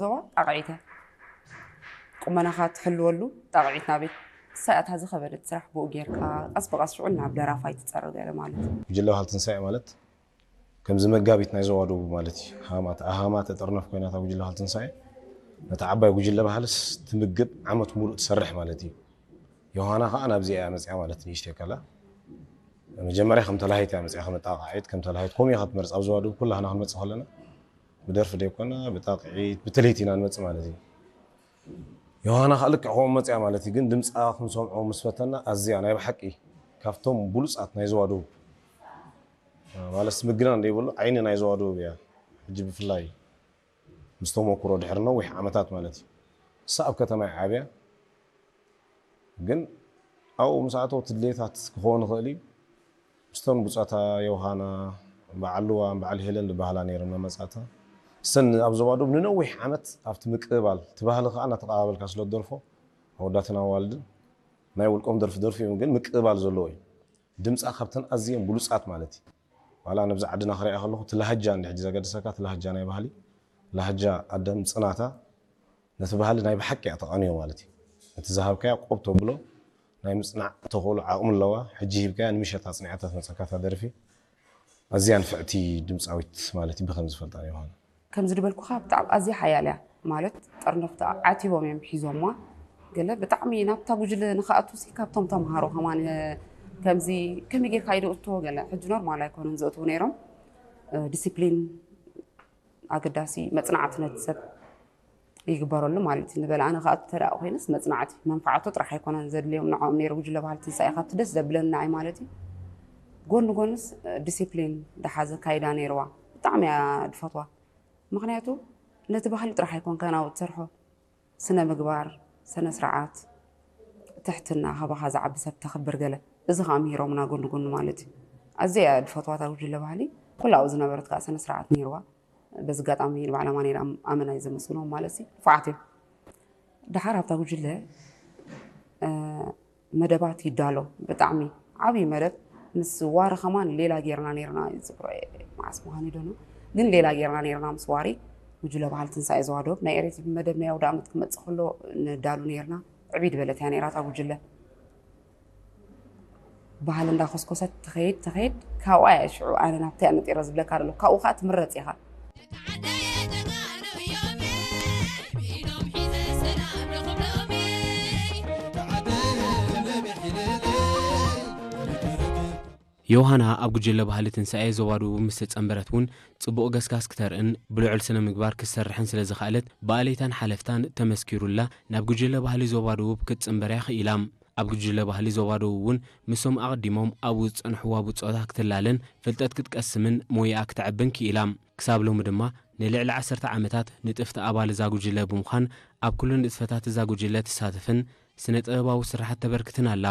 ዞባ ጣቕዒት እያ። ቁመናኻ ትሕልወሉ ጣቕዒት ናበይ? ንሳ እያ እታ ዝኸበደት ስራሕ። ብኡ ጌርካ ቀስ ብቐስ ሽዑ ናብ ደራፋይ ትጸርብ ገለ ማለት እዩ። ጉጅለ ባህሊ ትንሳኤ ማለት ከምዚ መጋቢት ናይ ዞባ ደቡብ ማለት እዩ። ሃማት ኣሃማት ተጠርነፍ ኮይና እታ ጉጅለ ባህሊ ትንሳኤ ነታ ዓባይ ጉጅለ ባህልስ ትምግብ ዓመት ሙሉእ ትሰርሕ ማለት እዩ። ዮሃና ከዓ ናብዚኣ እያ መፅያ ማለት ንእሽተይ ከላ መጀመርያ ከም ተላሃይት እያ መፅያ ከም ጣቕዒት ከም ተላሃይት ከምኡ እያ ክትመርፅ ኣብ ዞባ ደቡብ ኩላህና ክንመፅእ ከለና ብደርፊ ደይኮና ብጣቕዒት ብትልሂት ኢና ንመፅእ ማለት እዩ። ዮሃና ከዓ ልክዕ ከምኡ መፅያ ማለት እዩ ግን ድምፃ ክንሰምዖ ምስ ፈተና ኣዝያ ናይ ብሓቂ ካብቶም ብሉፃት ናይ ዞባ ደቡብ ማለት ምግናን ዘይብሉ ዓይኒ ናይ ዞባ ደቡብ እያ። ሕጂ ብፍላይ ምስ ተመኩሮ ድሕሪ ነዊሕ ዓመታት ማለት እዩ። እሳ ኣብ ከተማ እያ ዓብያ ግን ኣብኡ ምስ ኣተወት ድሌታት ክኸውን ይኽእል እዩ። ምስቶም ብፆታ ዮሃና በዓል ልዋም በዓል ሄለን ዝበሃላ ነይረን መመፃታ እሰን ኣብ ዞባ ደቡብ ንነዊሕ ዓመት ኣብቲ ምቅብባል እቲ ባህሊ ከዓ እናተቀባበልካ ስለ ትደርፎ ኣወዳትን ኣዋልድን ናይ ውልቆም ደርፊ ደርፊ እዮም ግን ምቅብባል ዘለዎ እዩ። ድምፃ ካብተን ኣዝየን ብሉፃት ማለት እዩ። ዋላ ነብዚ ዓድና ክሪኣ ከለኹ እቲ ላህጃ እንዲ ሕጂ ዘገድሰካ እቲ ላህጃ ናይ ባህሊ ላህጃ ኣደም ፅናታ ነቲ ባህሊ ናይ ብሓቂ እያ ተቐንዮ ማለት እዩ። ነቲ ዝሃብካያ ቆብ ተብሎ ናይ ምፅናዕ ተኽእሎ ዓቕሚ ኣለዋ። ሕጂ ሂብካያ ንምሸት ኣፅኒዓታ ትመፀካ እታ ደርፊ። ኣዝያ ንፍዕቲ ድምፃዊት ማለት እዩ ብከም ዝፈልጣ ዮሃና። ከምዚ ዝበልኩኻ ብጣዕሚ ኣዝያ ሓያል እያ ማለት ጠርነፍቲ ዓቲቦም እዮም ሒዞማ ገለ ብጣዕሚ ናብታ ጉጅለ ንክኣቱ ሲ ካብቶም ተምሃሮ ከማን ከምዚ ከመይ ጌርካ ይደእቶ ገለ ሕጂ ኖርማል ኣይኮኑን ዘእትዉ ነይሮም ዲሲፕሊን ኣገዳሲ መፅናዕቲ ነቲ ሰብ ይግበረሉ ማለት እዩ። ንበል ኣነ ከኣቱ ተደኣ ኮይነስ መፅናዕቲ መንፋዓቱ ጥራሕ ኣይኮነን ዘድልዮም ንዕኦም ነይሩ ጉጅለ ባህሊ ትንሳኤ ካብቲ ደስ ዘብለኒ ንዓይ ማለት እዩ። ጎኒ ጎንስ ዲሲፕሊን ዝሓዘ ካይዳ ነይርዋ ብጣዕሚ እያ ድፈትዋ። ምክንያቱ ነቲ ባህሊ ጥራሕ ኣይኮንካን ኣብኡ ትሰርሖ ስነ ምግባር፣ ሰነ ስርዓት፣ ትሕትና፣ ካባኻ ዝዓቢ ሰብ ተኽብር ገለ እዚ ከዓ ምሂሮምና ጎኒ ጎኒ ማለት እዩ። ኣዝየ እያ ድፈትዋ እታ ጉጅለ ባህሊ ኩላ ኣብኡ ዝነበረት ከዓ ሰነ ስርዓት ነይርዋ። በዚ ኣጋጣሚ ንባዕላ ማኔራ ኣመና እዩ ዘመስግኖም ማለት ሲ ንፉዓት እዮም። ድሓር ኣብታ ጉጅለ መደባት ይዳሎ ብጣዕሚ ዓብዪ መደብ ምስ ዋሪ ከማን ሌላ ጌርና ኔርና ዝብሮ መዓስ ምዃን ይደኖ ግን ሌላ ጌርና ኔርና ምስ ዋሪ ጉጅለ ባህል ትንሳኤ ዘዋዶብ ናይ ኤሬቲቪ መደብ ናይ ኣውደ ዓመት ክመፅእ ከሎ ንዳሉ ኔርና ዕብይ ድበለት እያ ኔራ እታ ጉጅለ ባህል እንዳኮስኮሰት ትኸይድ ትኸይድ ካብኣ እያ ሽዑ ኣነ ናብታ እያ ነጢረ ዝብለካ ደሎ ካብኡ ከዓ ትምረፅ ኢኻ ዮሃና ኣብ ጉጅለ ባህሊ ትንሳኤ ዞባ ደቡብ ምስ ተጸንበረት እውን ጽቡቕ ገስጋስ ክተርእን ብልዑል ስነ ምግባር ክትሰርሕን ስለ ዝኸኣለት ብኣለይታን ሓለፍታን ተመስኪሩላ ናብ ጉጅለ ባህሊ ዞባ ደቡብ ክትጽንበር እያ ክኢላ። ኣብ ጉጅለ ባህሊ ዞባ ደቡብ እውን ምስቶም ኣቐዲሞም ኣብኡ ዝጸንሕዋ ብጾታ ክትላለን ፍልጠት ክትቀስምን ሞያኣ ክተዕብን ክኢላ። ክሳብ ሎሚ ድማ ንልዕሊ ዓሰርተ ዓመታት ንጥፍቲ ኣባል እዛ ጉጅለ ብምዃን ኣብ ኩሉ ንጥፈታት እዛ ጉጅለ ትሳተፍን ስነ ጥበባዊ ስርሓት ተበርክትን ኣላ።